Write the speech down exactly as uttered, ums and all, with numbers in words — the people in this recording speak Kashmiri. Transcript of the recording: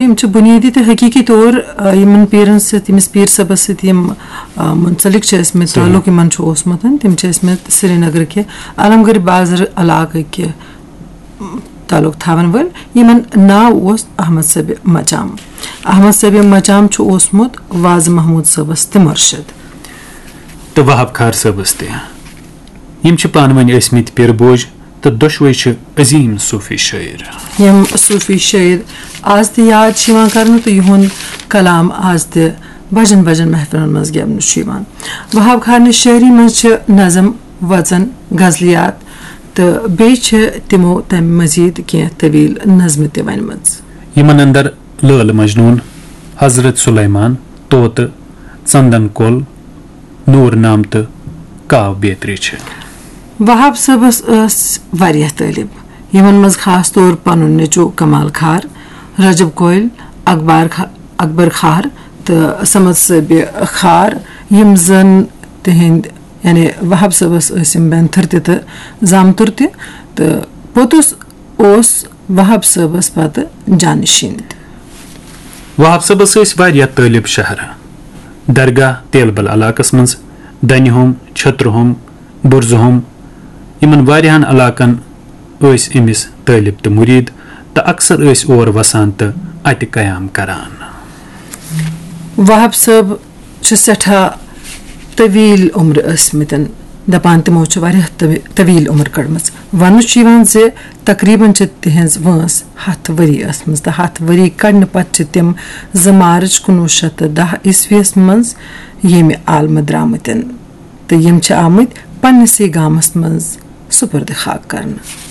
یِم چھِ بُنیٲدی تہٕ حقیٖقی طور، آ، یِمن پیٖرن سۭتۍ، ییٚمِس پیٖر صٲبس سۭتۍ یِم، آ، منسلک چھِ ٲسمٕتۍ، صحیح۔ تعلق یِمن چھُ اوسمُت، تِم چھِ ٲسمٕتۍ سرینگرٕ کہِ علم گڑھ بازر علاقہٕ کہِ تعلق تھاون وٲلۍ، یِمن ناو اوس احمد صٲبِ مچام۔ احمد صٲبِ مچام چھُ اوسمُت وازٕ محمود صٲبس تہِ مُرشِد۔ تہٕ وہاب کھار صٲبس تہِ۔ یِم چھِ پانہٕ ؤنۍ ٲسمٕتۍ پیٖرٕ بوج تہٕ دۄشوے چھِ عظیٖم صوٗفی شٲعر۔ یِم صوٗفی شٲعر آز تہِ یاد چھِ یِوان کرنہٕ تہٕ یِہُنٛد کلام آز تہِ بجن بجن محفلن منٛز گٮ۪ونہٕ چھُ یِوان۔ وہاب کھارنہِ شٲعری منٛز چھِ نظم، وژن، غزلیات تہٕ بیٚیہِ چھِ تِمو تَمہِ مزید کینٛہہ طویل نظمہٕ تہِ ونِمژٕ۔ یِمن اندر لٲل مجنون، حضرت سلیمان، طوطہٕ، ژندن کۄل، نور نام تہٕ کاو بیترِ چھِ۔ وہاب صٲبس ٲس واریاہ طٲلب، یِمن منٛز خاص طور پنُن نیٚچو کمال کھار، رجب کۄلۍ، اکبر کھ-، اکبر کھار تہٕ صمد صٲبِ کھار، یِم زن تِہنٛدۍ، یعنی وہاب صٲبس ٲسۍ یِم بینتھٕر تہِ تہٕ زامتُر تہِ، تہٕ پوٚتُس اوس وہاب صٲبس پتہٕ جانشین تہِ۔ وہاب صٲبس ٲسۍ واریاہ طٲلب شہر۔ درگاہ تیلبل علاقس منٛز، دنہِ ہوم، چھترٕ ہوم، بُرزٕ ہوم، یِمن واریاہن علاقن ٲسۍ أمِس طٲلب تہٕ مُریٖد، تہٕ اکثر ٲسۍ اور وسان تہٕ اتہِ قیام کران۔ وہاب صٲب چھِ سٮ۪ٹھاہ طویل عمر ٲسمٕتٮ۪ن، دپان تِمو چھِ واریاہ طوی-، طویل عمر کٔڑمٕژ۔ وننہٕ چھُ یِوان زِ تقریباً چھِ تِہنٛز وٲنٛس ہتھ ؤری ٲسمٕژ، تہٕ ہتھ ؤری کڑنہٕ پتہٕ چھِ تِم زٕ مارچ کُنوُہ شیٚتھ تہٕ دَہ عیسویس منٛز ییٚمہِ عالمہٕ درٛامٕتٮ۪ن، تہٕ یِم چھِ آمٕتۍ پننِسٕے گامس منٛز سپرد خاک کرنہٕ۔